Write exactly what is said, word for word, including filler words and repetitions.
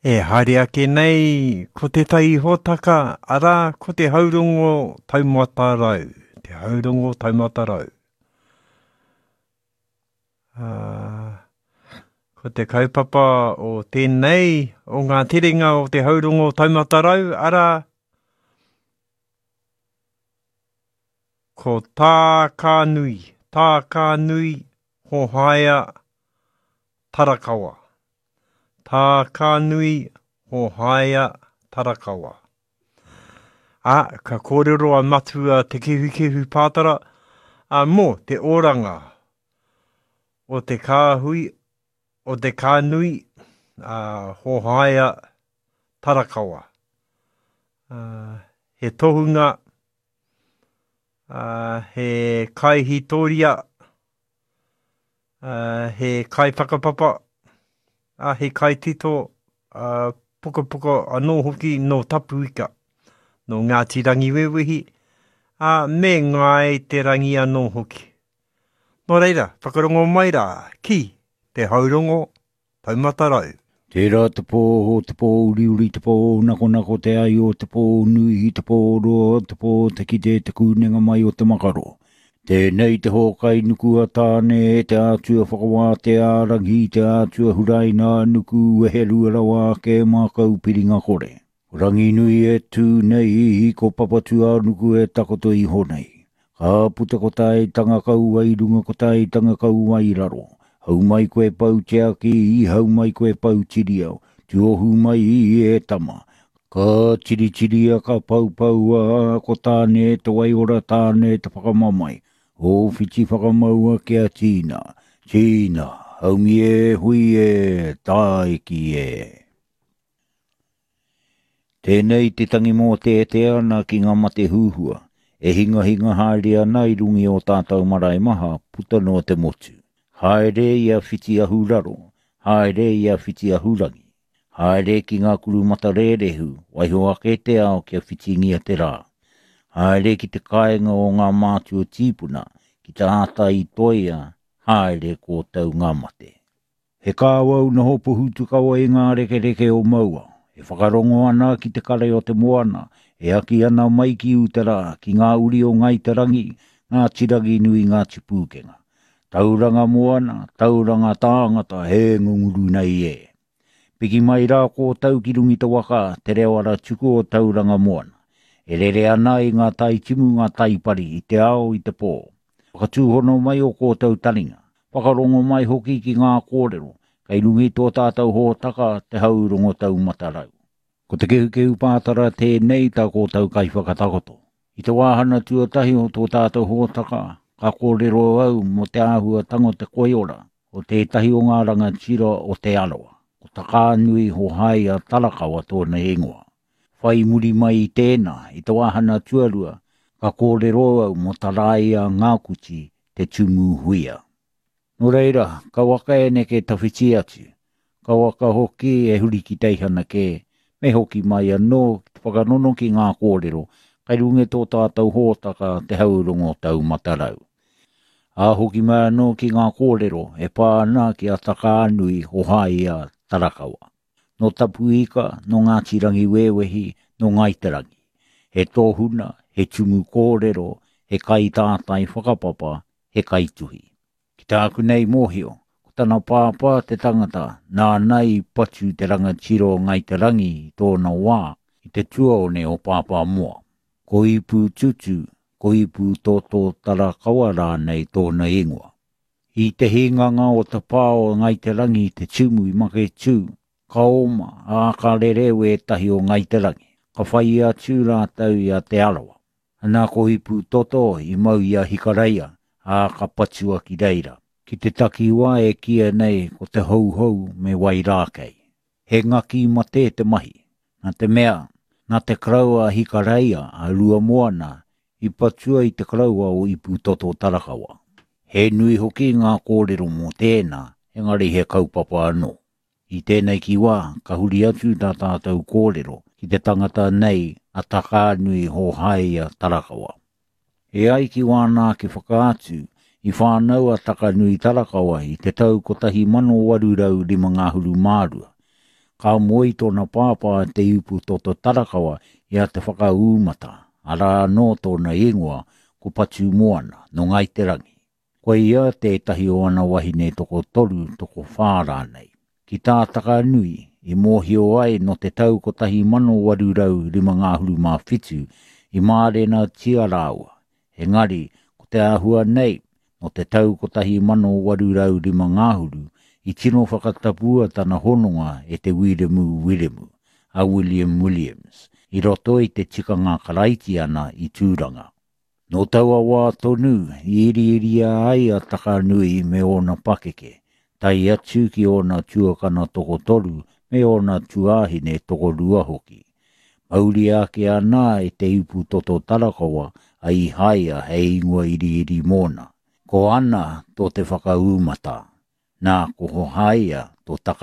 E haere ake nei ko tētahi hōtaka, arā, ko te haurongo taumata rau. Te haurongo taumata rau. Uh, ko te kaupapa o tēnei, o ngā terenga o te haurongo taumata rau, arā, ko Tākānui, Tākānui Hohaia Tarakawa. Tākānui Hohaia Tarakawa. Ā, ka kōrero a Matua Te Kehukehu Pātara a mō te oranga o te kāhui, o te kānui a Hohaia Tarakawa. Uh, he tohunga, uh, he kaihitoria, uh, he kaiwhakapapa, uh, he kaitito, uh, pukapuka anō hoki nō Tapuika, nō Ngāti Rangiwewehi, uh, me Ngāi Te Rangi anō hoki. Nō reira, whakarongo mai rā, ki te haurongo taumata rau. Tērā te pō, te pō uriuri, te pō nakonako te ai o te pō nui, te pō roa, te pō te kite, te kūnenga mai o te makaro. Tēnei te hōkai nuku a tāne, te ātua whakawā te ārangi, te ātua huraina nuku weherua rawa ake mākau piringa kore. Ranginui e tū nei, ko Papatūānuku e takoto iho nei. Ka puta ko tai tanga kaua i runga ko tai tanga kaua i raro. Hau mai koe pau te aki, hau mai koe pau tiriau, tuohu mai i e tama. Ka tiritiria ka paupaua, ko tāne te waiora tāne te whakamamai. O whiti whakamaua kia tīna, tīna, haumi e hui e, tāiki e. Tēnei te tangi mō te te ana ki ngā mate huhua, e hingahinga haere ana i rungi o tātou marae maha puta noa te motu. Haere i a whiti ahuraro, haere i a whiti ahurangi. Haere ki ngā kuru matarērehu, waiho ake te ao kia whitingia te rā. Haere ki te kāinga o ngā mātua tīpuna, ki te āta i toia, haere kōtau ngā mate. He kāwau noho pohutukawa i ngā rekereke o maua, e whakarongo ana ki te kare o te moana, e aki ana mai ki utara, ki ngā uri o Ngāi Te Rangi, ngā tirangi nui ngā tipūkenga. Tauranga moana, tauranga tāngata, he ngunguru nei e. Piki mai rā kōtau ki rungi te waka, te reo ara tuku o tauranga moana. E rere ana i ngā tai timu ngā taipari, i te ao i te pō. Whakatūhono mai o kōtau taringa, whakarongo mai hoki ki ngā kōrero, kei rungi tō tātou hōtaka te haurongo taumata rau. Ko te kehukehu pātara tēnei tā kōtau kaiwhakatakoto. I te wāhana tuatahi o tō tātou hōtaka, ka kōrero au mō te āhuatanga o te koiora, o tētahi o ngā rangatira o Te Arawa, ko Takānui Hohaia Tarakawa tōna ingoa. Whai muri mai i tēnā, i te wāhana tuarua, ka kōrero au mō Taraia Ngākuti te tumu huia. Nō reira, ka waka e neke tawhiti atu, ka waka hoki e huri ki teihana kē, me hoki mai anō ki te whakanono ki ngā kōrero, kai runga tō tātou hōtaka te haurongo taumata rau. Ā hoki mai anō ki ngā kōrero e pā ana ki a Takānui Hohaia Tarakawa. Nō Tapuika, nō Ngāti Rangiwewehi, nō Ngāi Te Rangi. He tōhuna, he tumu kōrero, he kaitātai whakapapa, he kaituhi. Ki tāku nei mōhio, ko tana pāpā te tangata, nāna i patu te rangatira o Ngāi Te Rangi i tōna wā, i te tuaone o Pāpāmoa. Ko Ipu Tutu, ko Ipu Toto Tarakawa rānei tōna ingoa. I te hinganga o te pā o Ngāi Te Rangi te tumu i Maketū, ka oma, ā ka rere wētahi o Ngāi Te Rangi, ka whai atu rātou i a Te Arawa. Anā ko Ipu Toto i mau i a Hikareia, ā ka patua ki reira. Ki te takiwā e kīia nei ko te houhou me Wairākei. He ngaki mate te mahi. Nā te mea, nā te karaua a Hikareia a Ruamoana i patua i te karaua o Ipu Toto Tarakawa. He nui hoki ngā kōrero mō tēnā, engari he kaupapa anō. I tēnei ki wā, ka huri atu tā tātou kōrero ki te tangata nei a Takānui Hohaia Tarakawa. E ai ki wāna ake whakaatu, i whānau a Takanui Tarakawa i te tau kotahi mano waru rau rima ngahuru mārua. Ka moe i tōna pāpā Te Iputoto Tarakawa i a Te Whakaūmata, arā anō tōna ingoa ko Patumoana, nō Ngāi Te Rangi. Ko ia tētahi o ana wahine tokotoru, tokowhā rānei. Ki tā Takanui, i mōhio ai nō te tau kotahi mano waru rau rima ngahuru mā whitu i mārenatia rāua, engari ko te āhua nei, nō te tau kotahi mano waru rau rima ngahuru i tino whakatapua tana hononga e te Wiremu Wiremu, a William Williams, i roto i te tikanga Karaitiana i Tūranga. Nō taua wā tonu i iriiria ai a Takanui me ōna pakeke, tae atu ki ōna tuakana tokotoru me ōna tuāhine tokorua hoki. Mauria ake ana e Te Iputoto Tarakawa a Ihaia hei ingoa iriiri mōna. Ko Ana tō Te Whakaūmata, nā ko Hohaia tō Takanui.